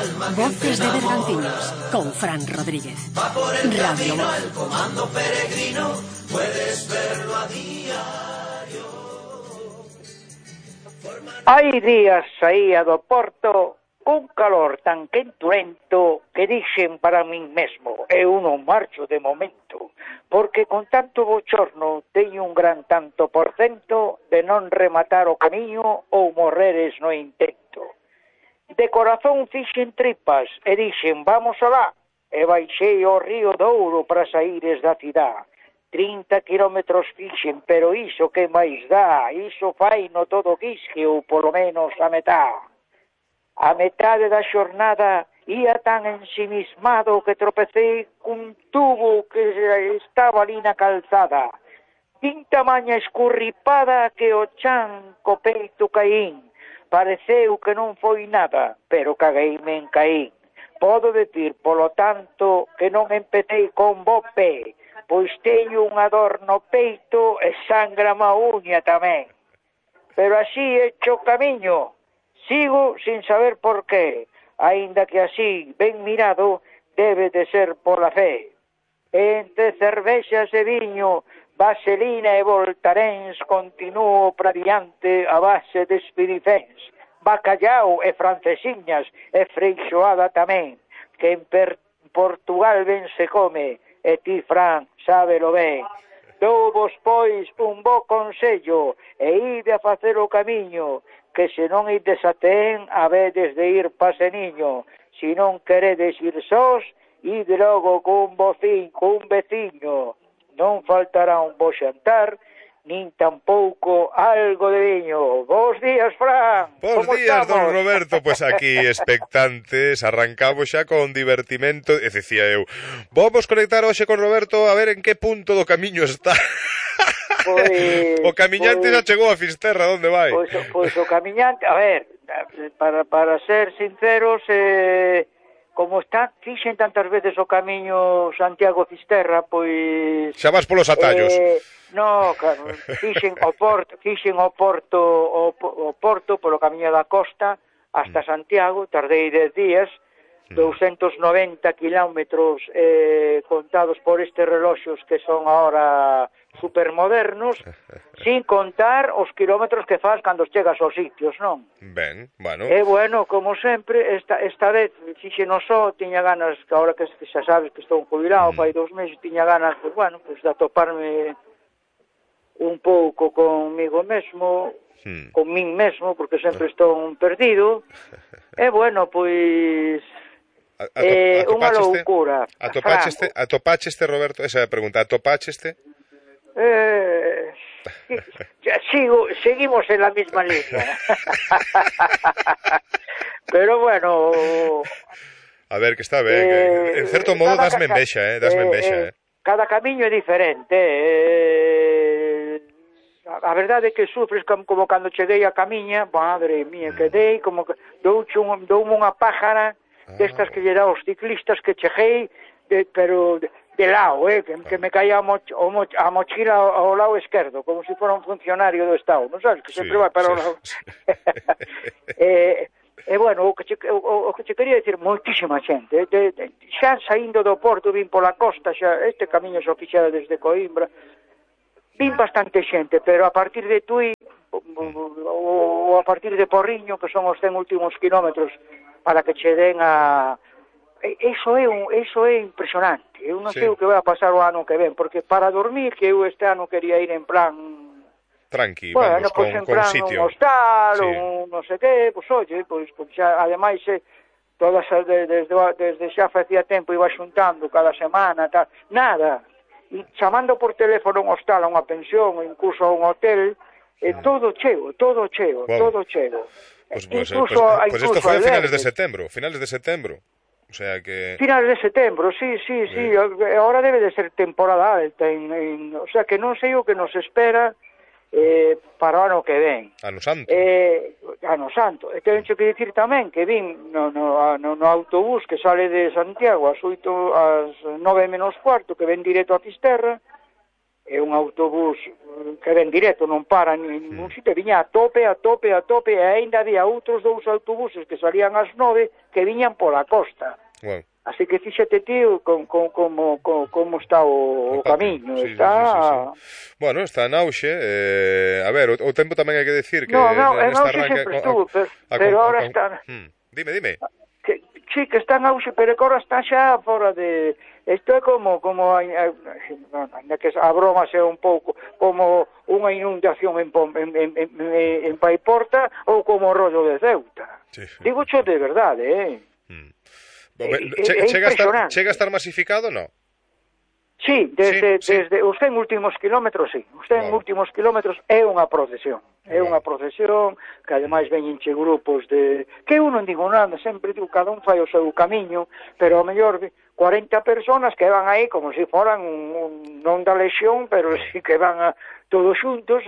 Voces de Bergantiños con Fran Rodríguez. Radio Voz. Comando peregrino, puedes verlo a diario. Hai días saía do Porto cun calor tan quenturento que dixen para min mesmo, eu non marcho de momento, porque con tanto bochorno teño un gran tanto por cento de non rematar o camiño ou morreres no intento. De corazón fixen tripas e dixen, vamos alá, e baixei ao río Douro para saíres da cidade. 30 kilómetros fixen, pero iso que máis dá, iso fai no todo quisque ou polo menos a metade. A metade da xornada ia tan ensimismado que tropecei cun tubo que estaba ali na calzada. Tin tamaña escurripada que o chan co peito caín. Pareceu que non foi nada, pero cagueime en caín. Podo decir, polo tanto, que non empecei con bo pé, pois teño unha dor no peito e sangra má uña tamén. Pero así hecho camiño, sigo sin saber por qué, aínda que así, ben mirado, debe de ser pola fe. Entre cervexas e viño, vaselina e voltaréns, continuo para diante a base de espiriféns, bacallao e francesiñas e freixoada tamén, que en Portugal ben se come, e ti, Fran, sábelo ben. Douvos, pois, un bo consello, e ide a facer o camiño, que se non ides a ten, habedes de ir paseniño. Se non queredes ir sós, ide logo cun veciño. Non faltará un bo xantar, nin tampouco algo de viño. Bos días, Fran. Bos días, don Roberto. Pois aquí expectantes, arrancamos xa con divertimento. E dicía eu, vamos conectar hoxe con Roberto a ver en que punto do camiño está. Pois, o camiñante xa chegou a Fisterra, onde vai? Pois o camiñante, a ver, para ser sinceros, como está, fixen tantas veces o camiño Santiago-Fisterra, pois... Xa vas polos atallos. No, claro, fixen o Porto polo camiño da costa hasta Santiago, tardei 10 días, 290 kilómetros contados por estes reloxos que son ahora supermodernos, sin contar os kilómetros que faz cando chegas aos sitios, non? Ben, bueno. E bueno, como sempre, esta vez fixen só, tiña ganas, que ahora que xa sabes que estou jubilado, fai 2 meses, tiña ganas, pues, bueno, pues, de atoparme un pouco comigo mesmo, con min mesmo, porque sempre estou perdido, e bueno, pois... unha loucura. Atopacheste, Roberto? Esa é a pregunta, atopacheste? Seguimos en la misma línea. Pero bueno... A ver, que está ben. En certo modo dasme envexa, Cada camiño é diferente, A verdade é que sufres como cando cheguei a camiña, madre mía, quedei como que doume unha pájara destas que lle dá aos ciclistas que cheguei, pero de lado, que me caía a mochila ao lado esquerdo, como se fora un funcionario do Estado, non sabes, que sempre vai para o lado. E bueno, o que che quería dicir, moitísima xente, xa saindo do Porto, vin pola costa, xa este camiño xa fixera desde Coimbra, vin bastante xente, pero a partir de Tui ou a partir de Porriño, que son os 100 últimos kilómetros para que che den a... Eso é impresionante. Eu non sei o que vai a pasar o ano que ven, porque para dormir, que eu este ano quería ir en plan... Tranqui, bueno, vamos, pues con sitio. Un hostal, un non sei que, pues oye, pues xa, ademais, todas desde xa facía tempo iba xuntando cada semana, tal, nada, e chamando por teléfono un hostal, a unha pensión, incluso a un hotel, todo cheo. Pues isto foi a finales de setembro, o sea que... Finales de setembro, sí, agora debe de ser temporada alta, o sea que non sei o que nos espera para o ano que ven. Ano Santo. Ano Santo. E tenho que dicir tamén que vin no autobús que sale de Santiago ás 9 menos cuarto, que ven directo a Fisterra, é un autobús que ven directo, non para en ningún sitio, viña a tope, e aínda había outros 2 autobuses que salían ás 9 que viñan pola costa. Bueno. Así que fíxate, tío, como está o camiño. Sí, está... sí. Bueno, está en auxe. A ver, o tempo tamén hai que decir que... No, en auxe sempre estuvo, pero ahora está... Dime. Sí, que está en auxe, pero que ahora está xa fora de... Isto é como que a broma sea un pouco como unha inundación en Paiporta ou como o rollo de Ceuta. Sí. Digo xo de verdade, Chega a estar masificado, non? Sí, desde os 100 últimos kilómetros, sí. Os 100 últimos kilómetros é unha procesión. É unha procesión que ademais veñenche grupos de... Que eu non digo nada, sempre digo, cada un fai o seu camiño, pero ao mellor 40 personas que van aí como se foran non da lexión, pero sí que van todos xuntos...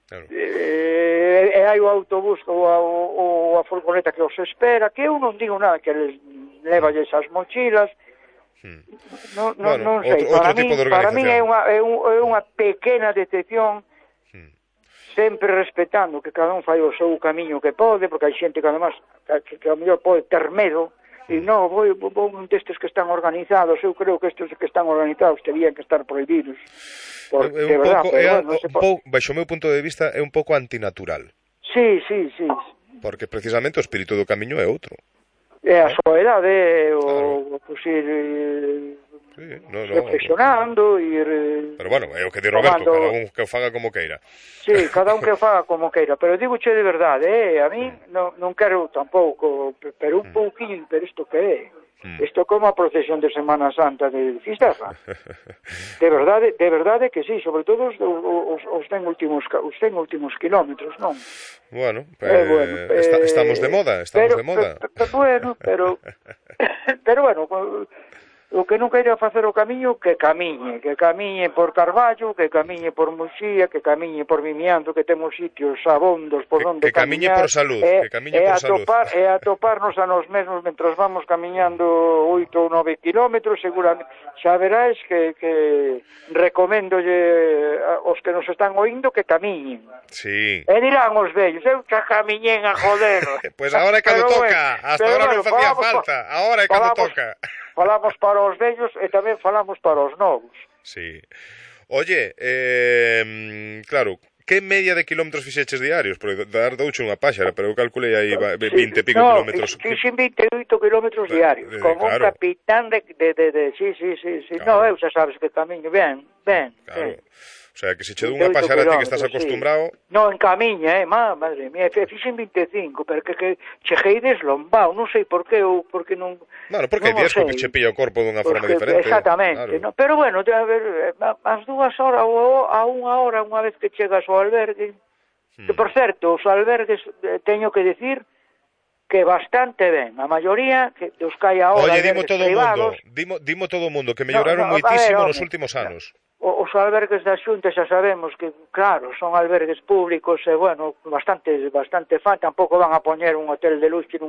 Claro. E hai o autobús ou a furgoneta que os espera, que eu non digo nada, que les levalles as mochilas. Non sei, para mí é unha pequena decepción, sempre respetando que cada un fai o seu camiño que pode, porque hai xente que además que ao mellor pode ter medo, e non, vou destes que están organizados, eu creo que estes que están organizados terían que estar prohibidos. Porque, baixo o meu punto de vista, é un pouco antinatural. Sí. Porque precisamente o espírito do camiño é outro. É a soedade, o ir reflexionando, ir... Pero bueno, é o que di Roberto, cada un que o faga como queira. Sí, cada un que o faga como queira, pero digo che de verdade, a mí non quero tampouco, pero un pouquinho, pero isto que é? Isto como a procesión de Semana Santa de Fisterra. De verdade que sí, sobre todo os 100 últimos kilómetros, non? Bueno, estamos de moda, Bueno, pero bueno, o que non queira facer o camiño, que camiñe por Carballo, que camiñe por Muxía, que camiñe por Vimianzo, que temos sitios abondos por onde camiñe por salud, e atoparnos a nos mesmos mentras vamos camiñando 8 ou 9 kilómetros, seguramente xa verás que recoméndolle aos que nos están oindo que camiñen. Sí. E dirán os vellos, eu xa camiñen a joder. Pues ahora é cando toca, hasta ahora non facía falta, ahora é cando toca. Falamos para os vellos e tamén falamos para os novos. Sí. Oye, claro, que media de kilómetros fixeches diarios? Porque douche unha páxara, pero eu calculei aí 20 e pico kilómetros. Fixen 28 kilómetros diarios, como un capitán de... Sí. No, eu xa sabes que camiño ben. Claro. O sea, que se che dou unha pasara a ti que estás acostumbrado... Non, en camiña, madre mía, fixen 25, pero que cheguei deslombado, non sei por qué, ou porque non... Bueno, porque hai días que che pilla o corpo dunha forma diferente. Exactamente, claro. Pero bueno, a ver, as 2 horas ou a 1 hora, unha vez que chegas ao albergue, que por certo, os albergues, teño que decir, que bastante ben, a maioría dos que hai ahora... Oye, dimo todo o mundo, que melloraron moitísimo nos últimos anos. Os albergues da Xunta xa sabemos que, claro, son albergues públicos e, bueno, bastante fan, tampouco van a poñer un hotel de luxe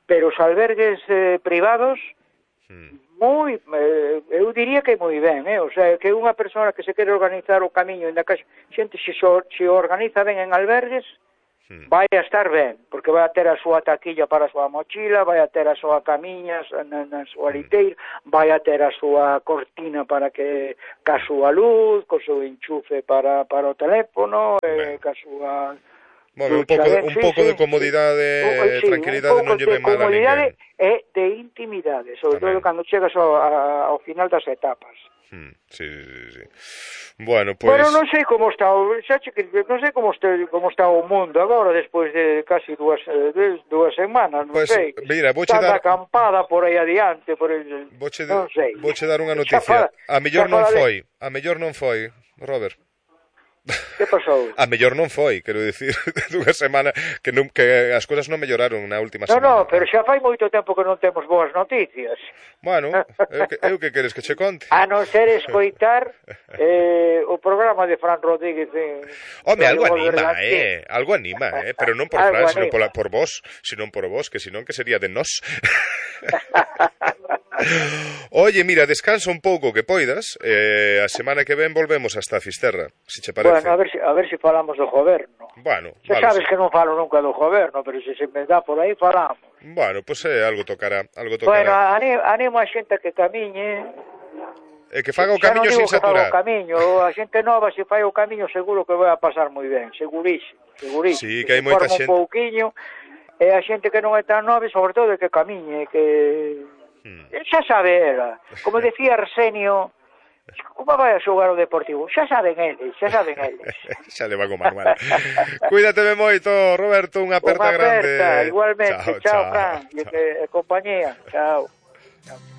pero os albergues privados eu diría que moi ben, o sea, que unha persona que se quere organizar o camiño en da casa, xente se organiza ben en albergues, vai a estar ben, porque vai a ter a súa taquilla para a súa mochila, vai a ter a súa camiña na súa liteira, vai a ter a súa cortina para que ca súa luz, co seu enchufe para o teléfono, ca súa... Bueno, un pouco de comodidade e tranquilidade non lle ven mal a ninguén. Comodidade e de intimidade, sobre todo cando chegas ao final das etapas. Sí. Bueno, pues... Pero non sei como está, non sei como está o mundo agora despois de casi dúas semanas, non sei. Mira, está da acampada por aí adiante, non sei. Vouche dar unha noticia. A mellor non foi, Robert. Que pasou? A mellor non foi, quero dicir, dunha semana que as cousas non melloraron na última semana. Non, pero xa fai moito tempo que non temos boas noticias. Bueno, eu que queres que che conte? A non ser escoitar o programa de Fran Rodríguez. Home, algo anima, pero non por Fran, sino por vos, senón por vos, que senón que sería de nós. Oye, mira, descansa un pouco que poidas. A semana que ven volvemos hasta Fisterra, se che parece. Bueno, a ver si falamos do goberno. Bueno, Xa sabes que non falo nunca do goberno, pero se me dá por aí falamos. Bueno, pues algo tocará, Bueno, animo a xente que camiñe. E que faga o camiño sin saturar. A xente nova, se fai o camiño, seguro que vai a pasar moi ben, segurísimo. Sí, que hai moita xente. Un pouquiño, e a xente que non é tan nova, sobre todo, que camiñe, que... Xa sabe ela. Como decía Arsenio, como vai a xogar o Deportivo? Xa saben eles. Xa le van o manual. Cuídateme moito, Roberto, unha aperta grande. Igualmente, chao, Fran, e compañía, chao.